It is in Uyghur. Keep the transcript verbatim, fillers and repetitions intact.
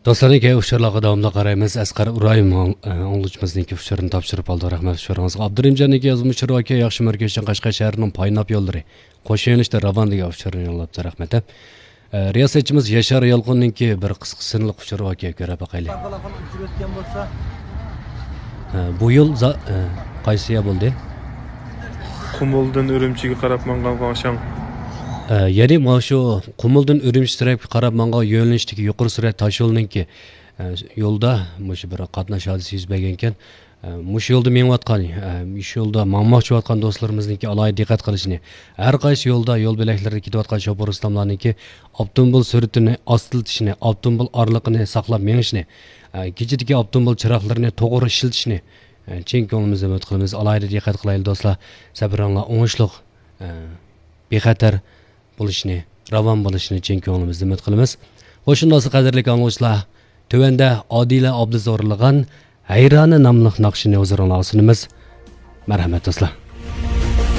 دوستلارنىڭكى ئۇچۇرلارغا داۋاملىق قارايمىز. ئەسقەر ئۇرايىم ئاڭ-، ئاڭلىغۇچىمىزنىڭكى ئۇچۇرىنى تاپشۇرۇپ ئالدى. رەھمەت ئۇچۇرىڭىزغا. ئابدۇرېھىمجاننىڭكى يازما ئۇچۇرى باركەن، ياخشى مەركەزچان قەشقەر شەھىرىنىڭ پايناپ يوللىرى قوش يۆنىلىشتە راۋان دېگەن ئۇچۇرنى يوللاپتۇ. رەھمەت. ئە، رىياسەتچىمىز ياشار يالقۇننىڭكى بىر قىسقا سىنلىق ئۇچۇرى باركەن، كۆرۈپ باقايلى. ئە، بۇ يول زا-، ئە، قايسى يا بولدى؟ قۇمۇلدىن ئۈرۈمچىگە قاراپ ماڭغان قاڭشاڭ. ئە، يەنى مانا شۇ قۇمۇلدىن ئۈرۈمچى تەرەپكە قاراپ ماڭغان يۆنىلىشتىكى يۇقىرى سۈرئەت تاشيولىنىڭكى، ئە، يولدا مۇشۇ بىر قاتناش ھادىسىسى يۈز بەرگەنكەن. ئە، مۇشۇ يولدا مېڭىۋاتقان، ئە، مۇشۇ يولدا ماڭماقچى بولۇۋاتقان دوستلىرىمىزنىڭكى ئالاھىدە دىققەت قىلىشىنى، ھەر قايسى يولدا يول بۆلەكلىرىدە كېتىۋاتقان شوپۇر ئۇستاملارنىڭكى ئاپتوموبىل سۈرئىتىنى ئاستىلىتىشىنى، ئاپتوموبىل ئارىلىقىنى ساقلاپ مېڭىشىنى، ئە، كېچىدىكى ئاپتوموبىل چىراغلىرىنى توغرا ئىشلىتىشنى، ئە، چىن كۆڭلىمىزدىن ئۈمىد قىلىمىز. ئالاھىدە دىققەت قىلايلى دوستلار. سەپىرىڭلار ئوڭۇشلۇق، ئە، بىخەتەر بولۇشىنى، راۋان بولۇشىنى چىن كۆڭلىمىزدىن ئۈمىد قىلىمىز. خوش، شۇنداقسا قەدىرلىك ئاڭلىغۇچىلار، تۆۋەندە ئادىلە ئابلىز ئورۇنلىغان ھەيرانى ناملىق ناخشىنى ھۇزۇرۇڭلارغا سۇنىمىز. مەرھەمەت دوستلار.